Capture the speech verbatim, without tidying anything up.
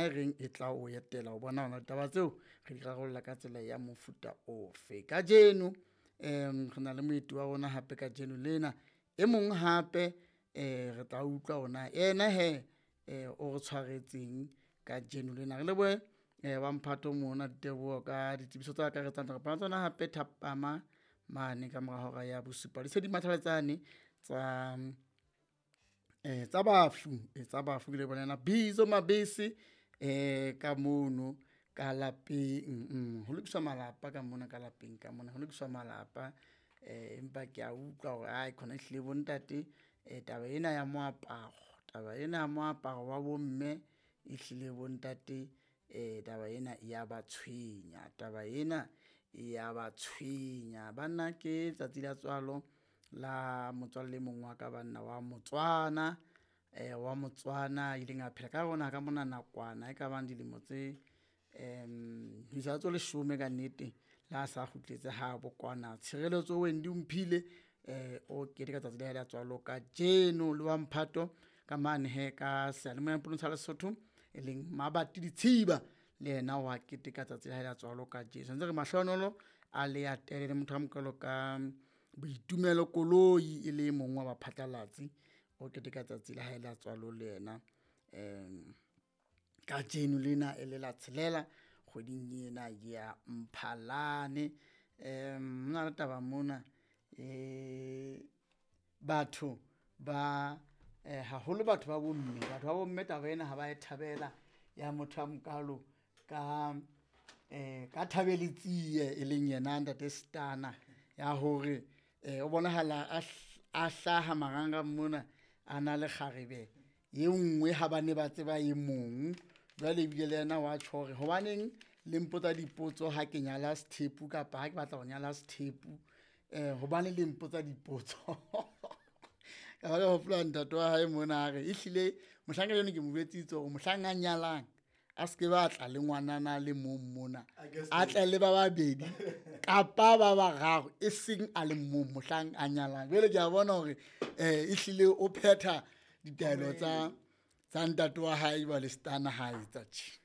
e reng e tla o etela ho bona hona ditaba tseo re di rarolla ka tsela ya mofuta ofe. Kajeno um re na le moeti wa rona hape kajeno lena, e mong hape um re tla utlwa hore na yena hee um o re tshwaretseng kajeno lena. Re lebohe um wa mphato mona diteboho ka ditsebiso tse akaretsang re kopana tsona hape thapama mane ka mora hora ya bosupa. Di se di mathaletsane tsa eh tsa bafu, eh tsa bafu ke le bona Bizo Mabese eh ka mono ka lapeng. Mm, ho lokiswa malapa ka mona ka lapeng ka mona ho lokiswa malapa. Eh empa ke a utlwa hore ai khona ehlile bo ntate eh taba ena ya moaparo, taba ena ya moaparo wa bomme ehlile bo ntate eh taba ena e ya ba tshwenya, taba ena e ya ba tshwenya. Banna ke tsatsi la tswalo la motswalle e mong wa ka banna wa Motswana, eh wa Motswana a ileng a phela ka rona ka mona nakwana e ka bang dilemo tse um ho isa tse leshome kannete. Le ha sa kgutletse habo kwana. Tshireletso Wendy Omphile eh o keteka tsatsi la hae la tswalo kajeno le wa mphato ka mane hee ka seyalemoya sa Lesotho e leng Mabati Ditshiba le yena wa keteka tsatsi la hae la tswalo kajeno. Santse re mahlohonolo a le atele le motho a mokalo ka Boitumelo Koloi e le mong wa baphatlalatsi o keteka tsatsi la hae la tswalo le yena um kajeno lena e le la tshelela kgweding ena ya Mphalane. Um hona le taba mona eh batho ba eh haholo batho ba bomme, batho ba bomme taba ena ha ba e thabela ya motho a mokalo ka eh ka Thabeletsie e leng yena ntate Stana ya hore eh o bonahala a a hlaha marangrang mona a na le kgarebe e nngwe ha ba ne ba tseba e mong. Jwale ebile le yena wa tjho hore hobaneng le mpotsa dipotso ha ke nyala sethepu kapa ha ke batla ho nyala sethepu, eh hobane le mpotsa dipotso. Ka ba ka hopola ntate wa hae mona a re ehlile mohlanka eno ke mo jwetsitse hore mohlang a nyalang a se ke ba tla le ngwanana le mong mona, a tle le ba babedi kapa ba bararo e seng a le mong mohlang a nyalang. Jwale ke a bona hore eh ehlile o phetha ditaelo tsa tsa ntate wa hae jwale Stana ha etsa tje.